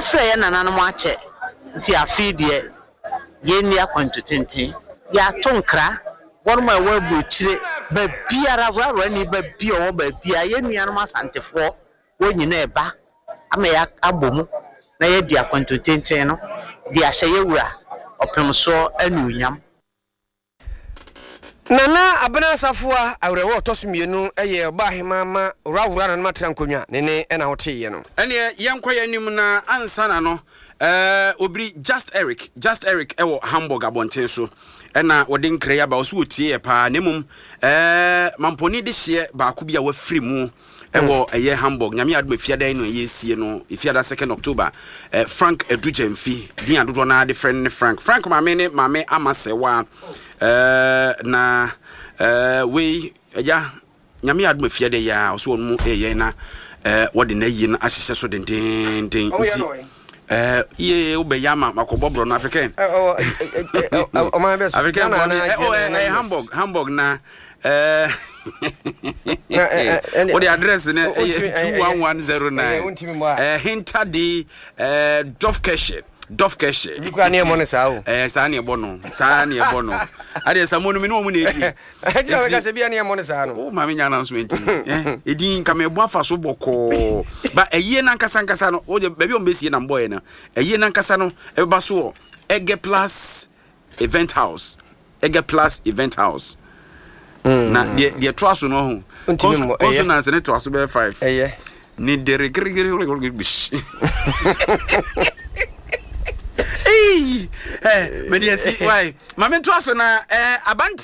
Yɛfrɛɛ yɛn nananom akyɛ nti afei deɛ yɛnni akwantu tenten. Yɛato nkra, wɔnom a ɛwɔ aburokyire baabiara, Wrawrani ba bi a ɔwɔ baabiara, yɛn nuanom Asantefoɔ wɔn nyinaa ɛba ama yɛabɔ mu na yɛadi akwantu tenten no de ahyɛ yɛn Wura Ɔpemsoɔ anuonyam. Nana Abena Asafoa Awerɛhoɔ a ɔtɔ so mmienu yɛ Ɔbaahemaa ma Owura Nana Matra Nkonnwa ne ne na woteeɛ no. Ɛneɛ yɛnkɔ yɛn anim na ansa na no eh, obiri Just Eric, Just Eric ɛwɔ Hamburg abɔnten so ɛna wɔde nkra yi aba, ɔso wɔtie yɛ paa na mmom eh, mampɔni de hyeɛ baako bi a wafiri mu ɛwɔ ɛyɛ Hamburg. Nyame adom efiada yi no ɛyɛ esie no, efiada 2nd October. Eh, Frank Adu Gyamfi, din a dodoɔ no ara de frɛ no ne Frank. Frank maame ne maame Ama Sɛwa. Eh, na eh, wei agya Nyame adom efiada yi a ɔso wɔn mu ɛyɛ na eh, wɔde n'ayie no ahyehyɛ so dendenden nti eh, yie wobɛyɛ ama makɔbɔ borɔ no African. African bɔ ne eh, oh, eh, eh, Hamburg, Hamburg na Eh, wode address no ɛyɛ 21109 hinta de dɔfkɛhyɛ dɔfkɛhyɛ bi kura ne ɛmɔ no saa o ɛɛ saa ne ɛbɔ no saa ne ɛbɔ no adeɛ sa mo no me ne wɔn na ɛdi ɛti na mɛka sɛ bia ne ɛmɔ no saa no o maame nya announcement ɛdin nka mɛbɔ afa so bɔkɔɔ ba ɛyie nankasa nkasa no o de baabi a wɔn bɛsie na mbɔɛ no ɛyie nankasa no ɛbɛba so wɔ ɛgɛ plus Event House, Ege Plus Event House. Na deɛ deɛ toa so no ho. Consonants ne toa so bɛyɛ five. Ɛyɛ. Ne dere gere gere gere gere bish. Ee, ɛ mɛ deɛ si why? Maame toa so na ɛ abanti.